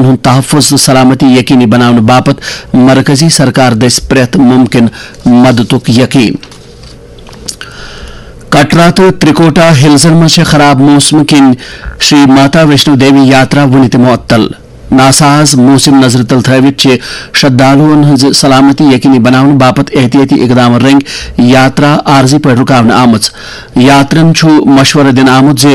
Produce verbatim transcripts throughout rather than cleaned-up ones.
ہُنٛد تحفظ تہٕ سلامتی یقینی بناونہٕ باپتھ مرکزی سرکار دٔسۍ پرٛٮ۪تھ مُمکِن مددُک یقین۔ کٹرا تہٕ ترٛکوٹا ہلزن منٛز چھےٚ خراب موسمہٕ کِنۍ شری ماتا ویشنو دیوی یاترا وُنہِ تہِ معطل۔ ناساز موسم نظرِ تل تھٲوِتھ چھِ شردھالوٗوَن ہٕنٛز سلامتی یقینی بناونہٕ باپتھ احتیاطی اقدامن رٔنگۍ یاترا عارضی پٲٹھۍ رُکاونہٕ آمٕژ۔ یاترن چھُ مشورٕ دِنہٕ آمُت زِ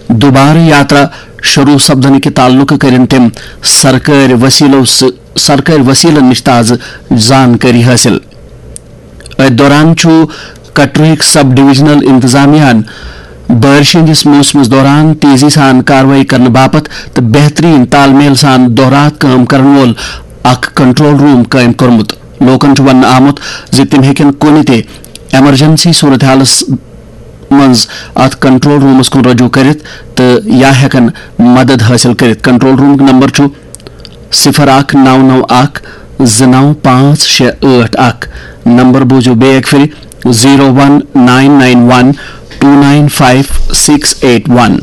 دُبارٕ یاترا شروع سپدنہٕ کہِ تعلقہٕ کٔرِن تِم سرکٲرۍ وسیلو سۭ-، سرکٲرۍ وسیلن نِش تازٕ زانکٲری حٲصِل۔ أتھۍ دوران چھُ کٹرُک سب ڈویژنل انتظامیہ ہَن بارشہِ ہٕنٛدِس موسمس دوران تیزی سان کاروٲیی کرنہٕ باپتھ تہٕ بہترین تال میل سان دۄہ راتھ کٲم کرن وول اکھ کنٹرول روم قٲیِم کوٚرمُت۔ لوٗکن چھُ وننہٕ آمُت زِ تِم ہیٚکن کُنہِ تہِ ایمرجنسی صورتحالس منٛز اتھ کنٹرول رومس کُن رجوع کٔرِتھ تہٕ یا ہیٚکن مدد حٲصِل کٔرِتھ۔ کنٹرول رومُک نمبر چھُ صفر اکھ نو نو اکھ زٕ نو پانٛژھ شےٚ ٲٹھ اکھ۔ نمبر بوٗزِو بیٚیہِ اکہِ پھِرِ، zero one nine nine one two nine five six eight one.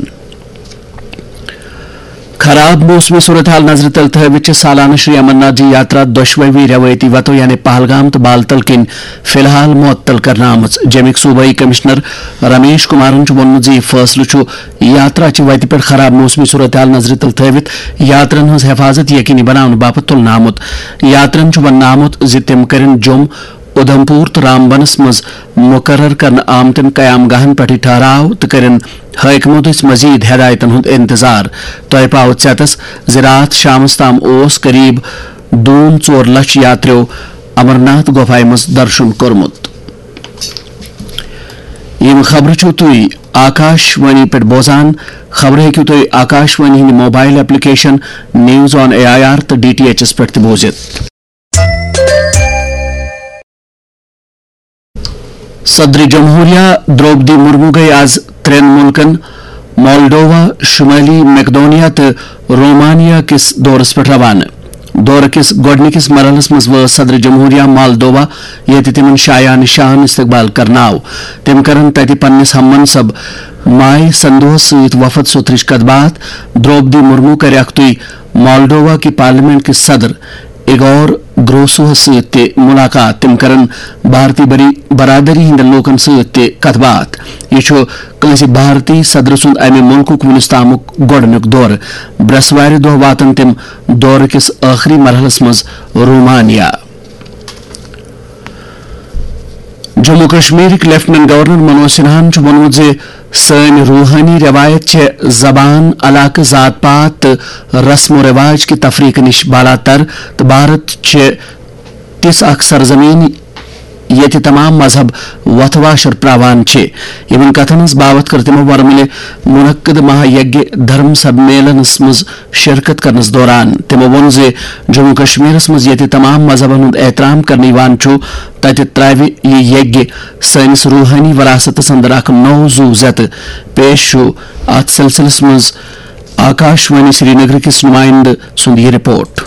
خراب موسمی صورتحال نظرِ تل تھٲوِتھ چھِ سالانہٕ شری امرناتھ جی یاترا دۄشوٕے رٮ۪وٲیتی وتو یعنی پہلگام تہٕ بالتل کِنۍ فی الحال معطل کرنہٕ آمٕژ۔ جیٚمِکۍ صوبٲئی کمشنر رمیش کمارن چھُ ووٚنمُت زِ یہِ فٲصلہٕ چھُ یاترا چہِ وتہِ پٮ۪ٹھ خراب موسمی صورتحال نظرِ تل تھٲوِتھ یاترن ہٕنٛز حفاظت یقینی بناونہٕ باپتھ تُلنہٕ آمُت۔ یاترن چھُ وننہٕ آمُت زِ تِم کٔرِن جوٚم، اُدھمپور تہٕ رامبنس منٛز مُقرر کرنہٕ آمتٮ۪ن قیام گاہن پٮ۪ٹھٕے ٹھہراو تہٕ کٔرِن حٲکمو دٔسۍ مزید ہدایتن ہُنٛد انتظار۔ تۄہہِ پاوٕ ژیتس زِ راتھ شامس تام اوس قریب دوٗن ژور لچھ یاتریو امرناتھ گۄپھایہِ منٛز درشُن کوٚرمُت۔ یِم خبرٕ چھِو تُہۍ آکاش وانی پٮ۪ٹھ بوزان۔ خبرٕ ہیٚکِو تُہۍ آکاش وانی ہٕنٛدِ mobile application news on A I R تہٕ ڈی ٹی ایچ ایس پٮ۪ٹھ تہِ بوٗزِتھ۔ صدر جمہوریہ درٛوپدی مرمو گٔے آز ترٛٮ۪ن مُلکن مالڈووا، شمٲلی میکڈونیا تہٕ رومانیا کِس دورس پٮ۪ٹھ روانہٕ۔ دورٕ کِس گۄڈٕنِکِس مرحلس منٛز وٲژ صدر جمہوریہ مالڈووا، ییٚتہِ تِمن شایان شان استقبال کرنہٕ آو۔ تِم کرن تتہِ پننِس ہم منصب مائے سندوہس سۭتۍ وفد سوتھرٕچ کتھ باتھ۔ درٛوپدی مرمو کرِ اکھتُے مالڈووا کہِ پارلیمنٹ کہِ صدر ایگور گروسوہس سۭتۍ تہِ مُلاقات۔ تِم کرن بھارتی بری-، برادری ہٕنٛدٮ۪ن لوٗکن سۭتۍ تہِ کتھ باتھ۔ یہِ چھُ کٲنٛسہِ بھارتی صدرٕ سُنٛد امہِ مُلکُک وُنیُس تامُک گۄڈٕنیُک دورٕ۔ برٛٮ۪سوارِ دۄہ واتن تِم دورٕ کِس ٲخری مرحلس منٛز Romania. Jammu کشمیرٕکۍ lieutenant governor Manoj سنہاہن چھُ ووٚنمُت زِ سٲنۍ روحٲنی رٮ۪وایت چھےٚ زبان، علاقہٕ، ذات پات تہٕ رسم و رواج کہِ تفریقہٕ نِش بالاتر، تہٕ بھارت چھِ تِژھ اکھ سرزمین ییٚتہِ تمام مذہب وۄتھٕ واشر پراوان چھِ۔ یِمن کتھن ہٕنٛز باوتھ کٔر تِمو ورمُلہِ منعقد مہا یگیہ دھرم سمیلنس منٛز شرکت کرنس دوران۔ تِمو ووٚن زِ جموں کشمیرس منٛز ییٚتہِ تمام مذہبن ہُنٛد احترام کرنہٕ یِوان چھُ، تتہِ ترٛاوِ یہِ یگیہ سٲنِس روحٲنی وراثتس اندر اکھ نوٚو زُو زیتہٕ۔ پیش چھُ اتھ سلسلس منٛز آکاش وانی سرینگر کِس نمائندٕ سُنٛد یہِ رپورٹ۔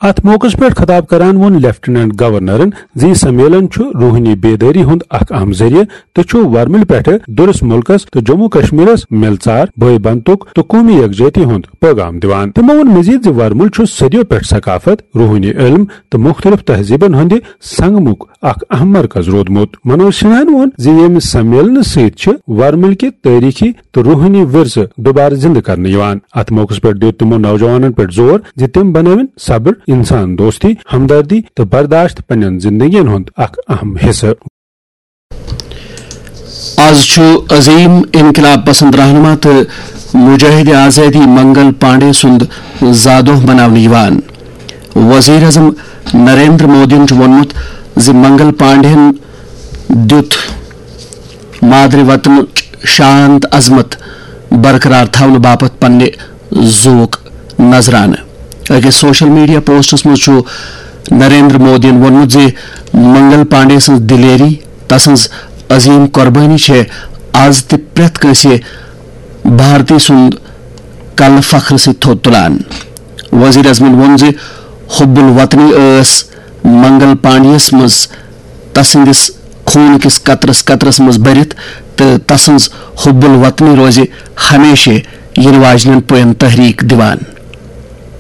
اتھ موقعس پٮ۪ٹھ خطاب کران ووٚن لیفٹیننٹ گورنرن زِ یہِ سمیلن چھُ روحٲنی بیدٲری ہُنٛد اکھ اہم ذٔریعہٕ تہٕ چھُ ورمُلہِ پٮ۪ٹھٕ دُرس مُلکس تہٕ جموں کشمیرس مِلژار، بٲے بنتُک تہٕ قومی یکجہتی ہُنٛد پیغام دِوان۔ تِمو ووٚن مزید زِ ورمُل چھُ صدیو پٮ۪ٹھ ثقافت، روحٲنی علم تہٕ مُختٔلِف تہذیبن ہٕنٛدِ سنگمُک اکھ اہم مرکز روٗدمُت۔ منوج سنہاہن ووٚن زِ ییٚمہِ سمیلنہٕ سۭتۍ چھِ ورمُلکہِ تٲریخی تہٕ روحٲنی ورثہٕ دوبارٕ زِندٕ کرنہٕ یِوان۔ اتھ موقعس پٮ۪ٹھ دیُت تِمو نوجوانن پٮ۪ٹھ زور زِ تِم بنٲوِن صبر، انسان دوستی، ہمدردی تہٕ برداشت پننٮ۪ن زندگین ہُنٛد اکھ اہم حصہٕ۔ از چھُ عظیم انقلاب پسند رہنما تہٕ مجاہد آزادی منگل پانڈے سُنٛد زادۄہ مناونہٕ یِوان۔ وزیر اعظم نریندر مودیَن چھُ ووٚنمُت زِ منگل پانڈیَن دیُت مادری وطنٕچ شان تہٕ عظمت برقرار تھاونہٕ باپتھ پننہِ زُوُک نذرانہٕ۔ أکِس سوشل میڈیا پوسٹس منٛز چھُ نریندر مودیَن ووٚنمُت زِ منگل پانڈے سٕنٛز دلیری، تسٕنٛز عظیم قربٲنی چھےٚ از تہِ پرٛٮ۪تھ کٲنٛسہِ بھارتی سُنٛد کلہٕ فخرٕ سۭتۍ تھوٚد تُلان۔ وزیر اعظمَن ووٚن زِ حب الوطنی ٲس منگل پانڈیَس منٛز تسٕنٛدِس خوٗن کِس قطرس قطرس منٛز بٔرِتھ تہٕ تسٕنٛز حب الوطنی روزِ ہمیشہِ یِنہٕ واجنٮ۪ن پُین تحریک دِوان۔